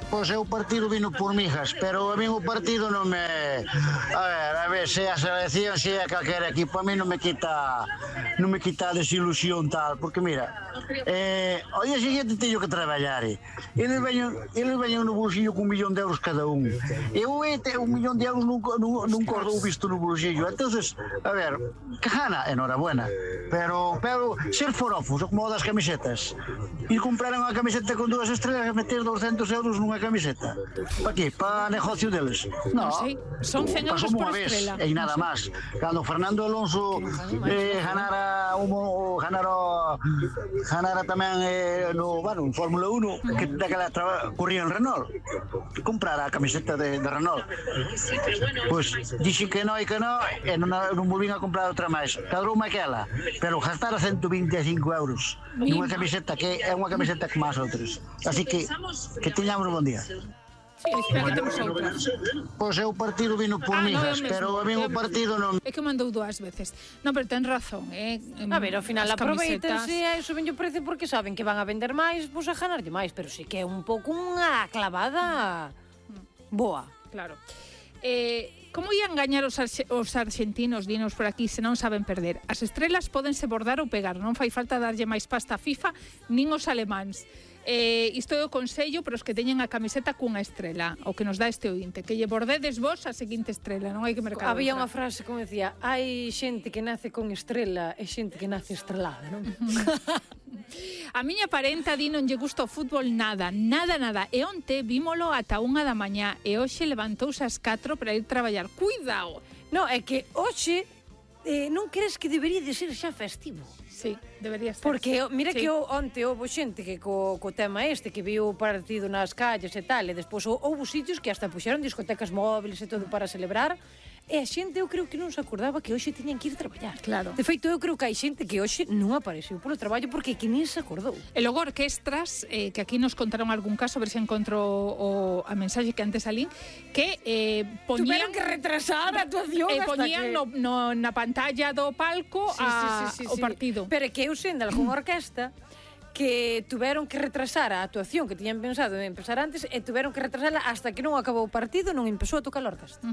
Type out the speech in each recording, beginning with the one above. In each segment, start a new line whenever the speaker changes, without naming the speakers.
Pois eu partido vino por mijas, pero a mí o partido non me... A ver, se a selección, se a calquera equipo, a mí non me quita a desilusión tal, porque mira, ao día seguinte teño que traballar, eles veñen no bolsillo con 1 millón de euros cada un. Eu 1 millón de euros non cordou visto no bolsillo, entonces, a ver, que gana, enhorabuena, pero ser forofos, como das camisetas, e comprar unha camiseta con 2 estrelas e meter 200 euros nunha camiseta. Para qué? Para negocio deles? No,
son 100 euros por estrela.
E nada máis. Cando Fernando Alonso ganara tamén no Fórmula 1, que daquela corría en Renault, comprara a camiseta de Renault. Pois dixen que non e non volvín a comprar outra máis. Cadroume aquela, pero gastara 125 euros nunha camiseta que é unha camiseta como as outras. Así que teñamos un bon día.
Sí, espera que temos outra.
Pois eu partido vino por mijas, pero a mí o partido non...
É que mandou 2 veces. Non, pero ten razón,
A ver, ao final aproveitanse a iso ben o precio porque saben que van a vender máis, pois a ganarlle máis, pero sí que é un pouco unha clavada boa.
Claro. Como ian gañar os argentinos, dinos por aquí, se non saben perder? As estrelas pódense bordar ou pegar, non fai falta darlle máis pasta a FIFA nin os alemáns. Isto é o consello para os que teñen a camiseta cunha estrela, o que nos dá este ointe, que lle bordedes vos a seguinte estrela, non hai que mercar.
Había unha frase como decía, hai xente que nace con estrela e xente que nace estrelada, non?
A miña parenta di non lle gusta o fútbol nada. E onte vímolo ata 1 da mañá e hoxe levantouse ás 4 para ir traballar. Cuidado!
Non, é que hoxe non crees que debería de ser xa festivo?
Sí, debería ser.
Porque mira que onte houve xente que co tema que viu o partido nas calles e tal, e despois houve sitios que hasta puxeron discotecas móviles e todo para celebrar, e a xente eu creo que non se acordaba que hoxe tiñan que ir traballar.
Claro.
De feito, eu creo que hai xente que hoxe non apareceu polo traballo porque que nin se acordou.
E logo orquestras, que aquí nos contaron algún caso, a ver se encontro a mensaxe que antes salín, que poñían...
Tuveron que retrasar a actuación hasta
poñían
que...
na pantalla do palco o partido.
Pero que eu sei de algunha orquesta que tuveron que retrasar a actuación que tiñan pensado en empezar antes e tuveron que retrasarla hasta que non acabou o partido, non empezou a tocar a orquesta.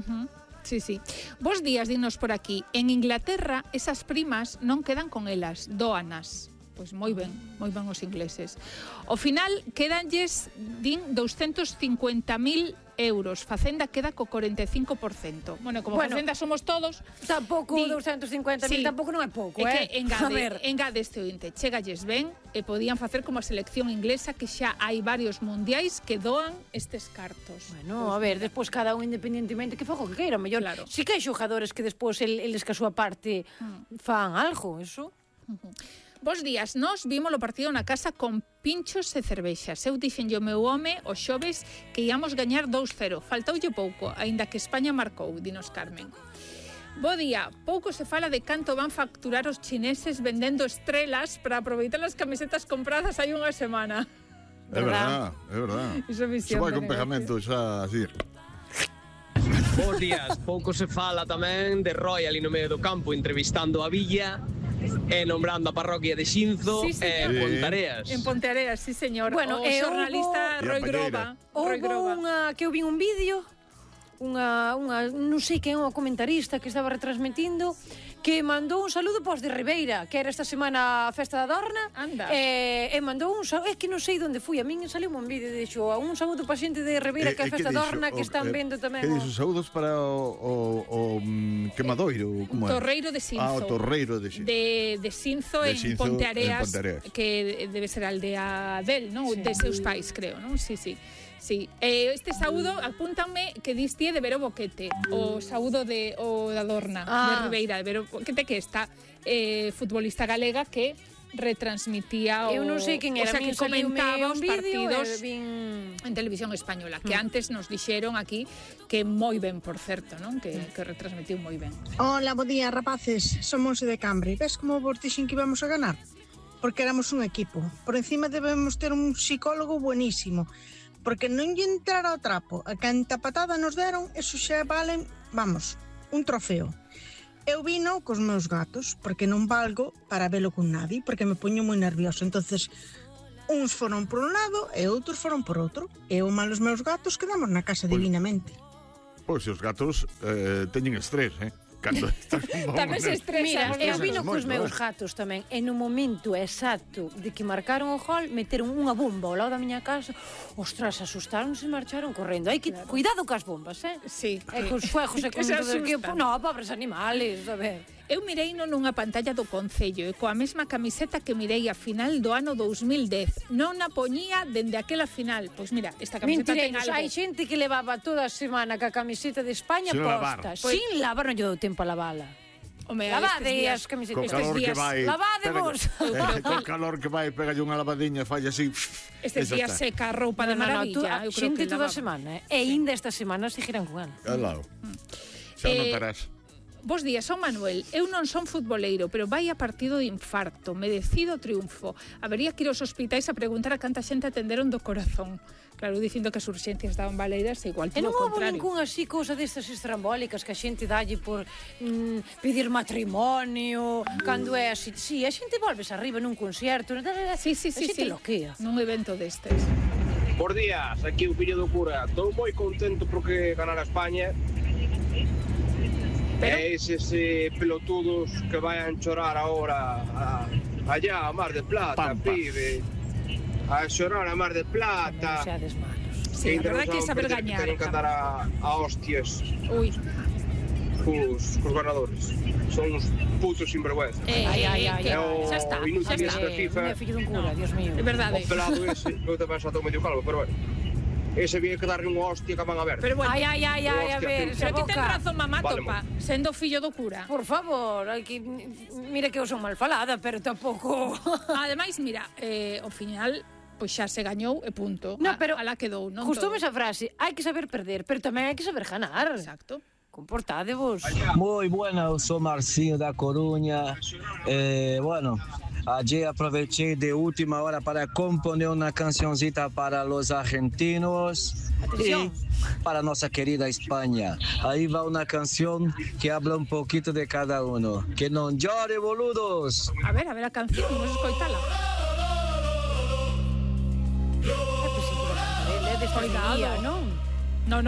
Sí. Bos días, dinos por aquí. En Inglaterra, esas primas non quedan con elas, dóanas. Pois moi ben os ingleses. Ao final, quedanlles, din, 250.000 euros. Facenda queda co 45%. Bueno, como Facenda somos todos...
Tampouco 250.000, tampouco non é pouco,
É que engade este ointe. Chegalles ben e podían facer como a selección inglesa, que xa hai varios mundiais que doan estes cartos.
Bueno, a ver, despois cada un independentemente que fago que queira, mellor.
Claro.
Si que hai xogadores que despois eles que a súa parte fan algo, eso...
Bos días, nós vimos o partido na casa con pinchos e cervexas. Eu dixenlle o meu home os xoves que íamos gañar 2-0. Faltoulle pouco, aínda que España marcou, dinos Carmen. Bo día, pouco se fala de canto van facturar os chineses vendendo estrelas para aproveitar as camisetas compradas hai unha semana.
É verdad.
Iso
vai con pegamento xa así.
Bos días, pouco se fala tamén de Roy ali no medio do campo entrevistando a Villa e nombrando a parroquia de Xinzo e Ponteareas.
En Ponteareas, sí, señor. Bueno, o xornalista Roy Groba.
Houve que eu vi un vídeo, non sei quen é unha comentarista que estaba retransmitindo, que mandou un saludo pos de Ribeira, que era esta semana a festa da Dorna.
Anda.
E mandou un saludo, é que non sei onde fui, a min saliu un vídeo e dixo un saludo para xente de Ribeira que é a festa da Dorna que están vendo tamén.
Que dixo? Saúdos para o quemadoiro, como é?
Torreiro de Xinzo.
O Torreiro de Xinzo.
De Xinzo en Ponteareas, que debe ser a aldea del, non? De seus pais, creo, non? Sí. Sí, este saúdo, apúntanme que diste de Vero Boquete, o saúdo da Dorna, de Ribeira, de Vero Boquete, que está futbolista galega que retransmitía
eu non sei quen era,
o sea, que comentaba os partidos
en
televisión española, que antes nos dixeron aquí que moi ben, por certo, non? Que retransmitiu moi ben.
Hola, bo día, rapaces, somos de Cambre. Ves como vos dixen que íbamos a ganar? Porque éramos un equipo. Por encima debemos ter un psicólogo buenísimo, porque non lle entrara ao trapo. A canta patada nos deron, eso xa valen, vamos, un trofeo. Eu vino cos meus gatos, porque non valgo para velo con nadie, porque me poño moi nervioso. Entonces, Uns foron por un lado e outros foron por outro. E eu malos meus gatos quedamos na casa divinamente.
Pois os gatos teñen estrés, Cando estás
Tamén se estresa.
Mira, eu vino cos meus gatos tamén, e no momento exacto de que marcaron o gol, meteron unha bomba ao lado da miña casa. Ostras, asustaronse e marcharon correndo. Hai que cuidado cas bombas,
Sí.
E cos fuegos e con
Se
todo que...
asustan.
No, pobres animales, a ver.
Eu mireino nunha pantalla do Concello e coa mesma camiseta que mirei a final do ano 2010. Non a poñía dende aquela final. Pois mira, esta camiseta ten
Mentireiros,
algo.
hai xente que levaba toda a semana ca camiseta de España
Sin
posta.
lavar.
Sin lavar, non lle dou tempo a lavala.
Home,
Lavade
estes
as camisetas.
Co calor que
días,
vai.
lavadevos.
Co calor que vai, pega unha lavadiña, falla así.
Estes días seca a roupa de maravilla. Eu creo
Xente
que
toda a
lavaba.
semana, e ainda esta semana seguirán con ela.
Alao. Xa notarás.
Bos días, son Manuel. Eu non son futboleiro, pero vai a partido de infarto. Merecido triunfo. Habería que ir aos hospitais a preguntar a canta xente atenderon do corazón. Claro, dicindo que as urxencias estaban baleiras, igual
E
todo
non
o
houve
contrario.
ningún así cousa destas estrambólicas que a xente dalle por pedir matrimonio, cando é así. Sí, a xente volves arriba nun concerto.
Sí, sí,
A
sí,
xente
sí.
loquea.
Nun evento destes.
Bos días, aquí o fillo do cura. Estou moi contento porque ganara España.
Pero-
E eses pelotudos que vayan chorar ahora allá a Mar de Plata,
Pampa.
pibe. A xorar a Mar de
Non
Plata.
seades malos.
Sí, a verdade que é saber
Que
gañar.
teñen que andar a hostias
Ui.
cos ganadores. Son uns putos sinvergüenza.
Ai,
que
xa
xa está,
inútil
xa está.
esta FIFA.
Non é fillo dun cura, Dios mío.
É verdade.
O pelado ese, eu tamén xa estou medio calvo, pero bueno. Ese viene que darle unha hostia que van a ver.
Pero bueno,
Ai, a ver, esa
pero que ten
boca.
razón mamá
Vale,
topa, sendo fillo do cura.
Por favor, hai que... Mira que eu son mal falada, pero tampouco...
Ademais, mira, ao final pois xa se gañou e punto.
No, pero
alá quedou, non
Gustoume
todo.
esa frase, hai que saber perder, pero tamén hai que saber ganar.
Exacto.
Comportadevos.
Muy buena, eu sou Marcinho da Coruña. Bueno, ayer aproveché de última hora para componer una cancioncita para los argentinos y para nuestra querida España. Ahí va una canción que habla un poquito de cada uno. Que non llore, boludos.
A ver a canción, vamos a escoitala.
É desta día, non?